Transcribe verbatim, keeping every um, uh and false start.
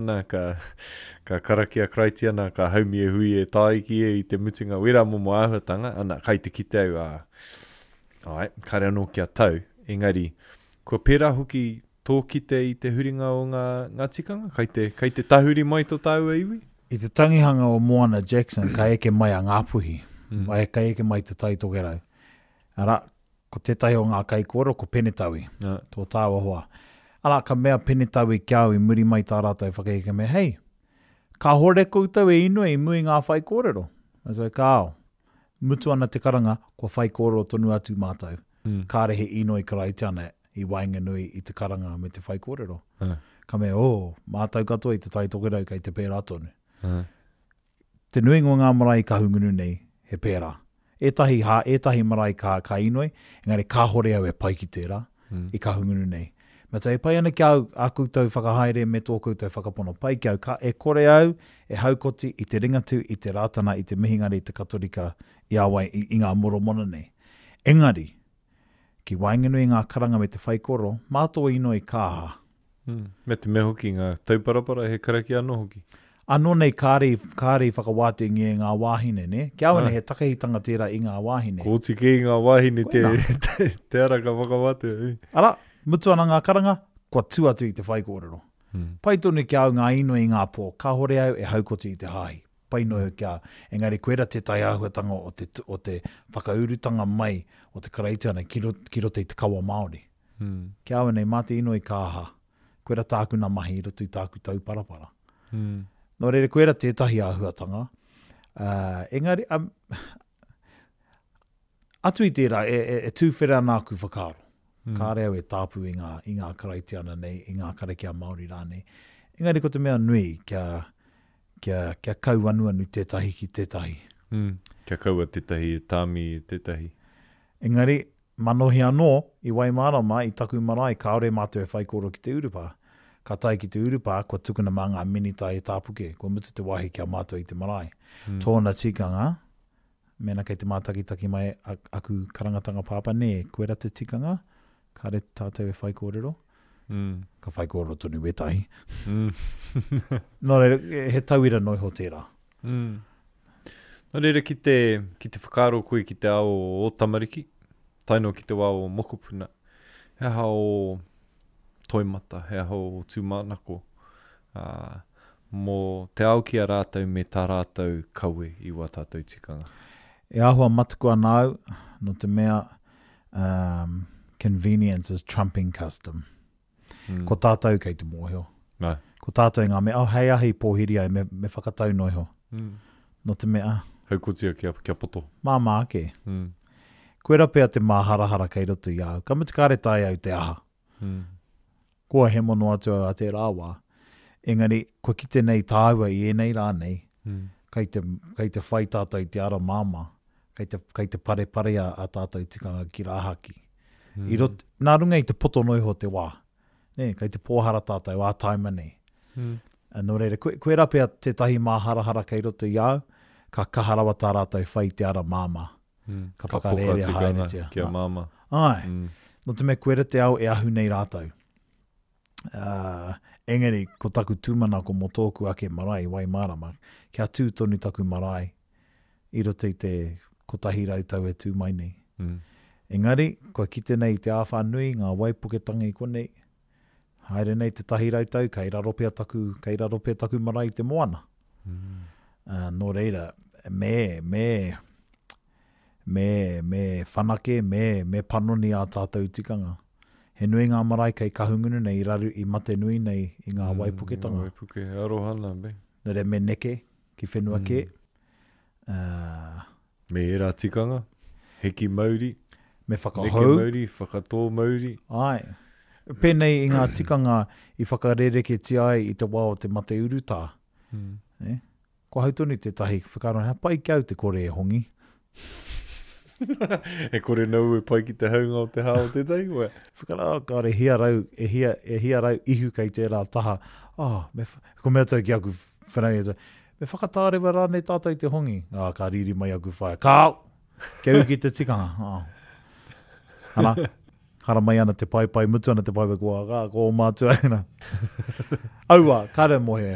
Ana, ka, ka karakia Karaitiana, ka haumi e hui e tāiki e i te mutunga, wera momo āhuatanga, ana, kai te kite au, ā, ai, kāre anō kia tau, engari, kua pērā hoki tō kite i te huringa o ngā, ngā tikanga, kai te, kai te tahuri mai tō tāua iwi? I te tangihanga o Moana Jackson, ka eke mai a Ngāpuhi, mm. ka eke mai te Tai Tokerau. Arā, ko tētahi o ngā kaikōrero, ko Penetaui, yeah. tō tāua hoa. Arā, ka mea Penetaui ki au i muri mai tā rātou whakaheke me, hei, kāhore koutou e inoi i mua i ngā whaikōrero. I was like, kāo. Mutu ana te karanga, kua whaikōrero tonu atu mātou. Mm. Kāre he inoi Karaitiana i waenganui i te karanga me te whaikōrero. Uh. Ka mea, oh, mātou katoa i te Tai Tokerau kei te pērā tonu. Uh. Te nuinga o ngā marae i Kahungunu nei, he pērā. Ētahi hā, ētahi marae ka, ka inoi, engari kāhore au e pai ki tērā, mm. i Kahungunu nei. Me te, e pai ana ki au, a koutou whakahaere me tō koutou whakapono. Pai ki au, ka, e kore au e haukoti i te Ringatū, i te Rātana, i te Mihingare, i te Katorika, i a wai, i, i ngā Moromona nei. Engari, ki waenganui i ngā karanga me te whaikoro, mā tō inoi ka aha. Mm. Me te mea hoki ngā tauparapara he karakia anō hoki. Anō nei kāre, kāre i whakawātengia e ngā wāhine, ne? Ki au nei he takahitanga tērā i ngā wāhine. Kōti kē i ngā wāhine te, te, te ara ka whakawātea. Arā, mutu ana ngā karanga, kua tū atu i te whaikōrero. Mm. Pai tonu ki au ngā inoi i ngā pō, kāhore au e haukoti i te hāhi. Pai noa ki au. Engari koira tētahi āhuatanga o te, o te whakaurutanga mai o te Karaitiana ki, ro, ki roto i te kawa Māori. Mm. Ki au nei, mā te inoi ka aha. Koira tāku nā mahi i roto i tāku tauparapara. Mm. Nō reira, koira tētahi āhuatanga. Uh, engari, um, atu i tērā, e, e, e tūwhera ana aku whakaaro. Mm. Kāre au e tāpu i ngā, i ngā Karaitiana nei, i ngā karakia Māori rānei. Engari ko te mea nui, kia, kia, kia kauanuanu tētahi ki tētahi. Mm. Kia kaua tētahi e tāmi e tētahi. Engari, manohi anō, i Waimārama, i taku marae, kāore mātou e whaikōrero ki te urupā. Ka tae ki te urupā, kua tukuna mā ngā minita e tāpuke, kua mutu te wāhi ki a mātou i te marae. Mm. Tōna tikanga, mēnā kei te mātakitaki mai aku karangatanga pāpā, nē, koera te tikanga, kāre tātou e whaikōrero. Mm. Ka whaikōrero tonu wētahi. Mm. Nō reira, he tauira noa iho tērā. Mm. Nō reira, ki te, ki te whakaaro koe ki te ao o tamariki, tae noa ki te wā o mokopuna, he aha o toimata, he aha o tūmanako, uh, mō te ao ki a rātou me tā rātou kawe i wā tātou tikanga. E āhua mataku ana au, nō te mea, um, convenience is trumping custom. Mm. Ko tātou kei te mōhio. No. Ko tātou ngā mea, oh, hei ahi pōhiri ai, me, me whakatau noa iho. Mm. Nō te mea, Haukotia kia, kia poto. Māmā ake. Mm. Koira pea te māharahara kei roto i au. Ka mutu kāre taea au te aha. Mm. Kua hemo noa atu au a tērā wā. Engari, kua kite nei tāua i ēnei rā nei, mm. kei te, kei te whai tātou i te ara māmā, kei te, kei te parepare a, a tātou tikanga ki rāhaki. Mm. I rot, nā runga i te poto noa iho te wā. Nē, kei te pōhara tātou ā taima nei. Mm. Nō reira, koe, koera pea tētahi māharahara kei roto i au, ka kaha rawa tā rātou whai i te ara māmā. Mm. Ka Ka poka whakarērea tikanga haeretia. kia māmā. Ai, Mm. nō te mea koera te ao e ahu nei rātou. Uh, engari, ko taku tūmanako mō tōku ake marae, Waimārama, kia tū tonu taku marae i roto i te kotahi rau tau e tū mai nei. Mm. Engari, kua kite nei i te āwhā nui, ngā waipuketanga i konei, haere nei te tahi rau tau, kei raro pea taku, kei raro pea taku marae i te moana. Mm. Uh, nō reira, me, me, me, me whanake, me, me panoni ā tātou tikanga. He nui ngā marae kei Kahungunu nei, i raru, i mate nui nei i ngā Mm, waipuketanga. Ngā waipuke, aroha nā, be. Nō reira, me neke ki whenua Mm. kē. Uh, Me ērā tikanga, hiki mauri, me neke whakahou. mauri, whakatō mauri. Ai. Pēnei i ngā tikanga i whakarereketia ai i te wā o te mate urutā. Mm. Eh? Ko hau tonu tētahi whakaaro, he pai ki au te kore e hongi. E kore nau e pai ki te haunga o te hā o tētahi koe. Whakaaro, oh, kāre, hia rau, e hia, e hia rau ihu kei tērā taha. Oh, me, ko mea tau ki aku whanaunga, me whakatārewa rānei tātou te hongi. Ah, ka riri mai aku whaea. Kāo! Kia uki te tikanga. Oh. Ana, Haramai ana te paepae, mutu ana te paepae, ko, ko, ko o mātua. Aua, kāre mōhio e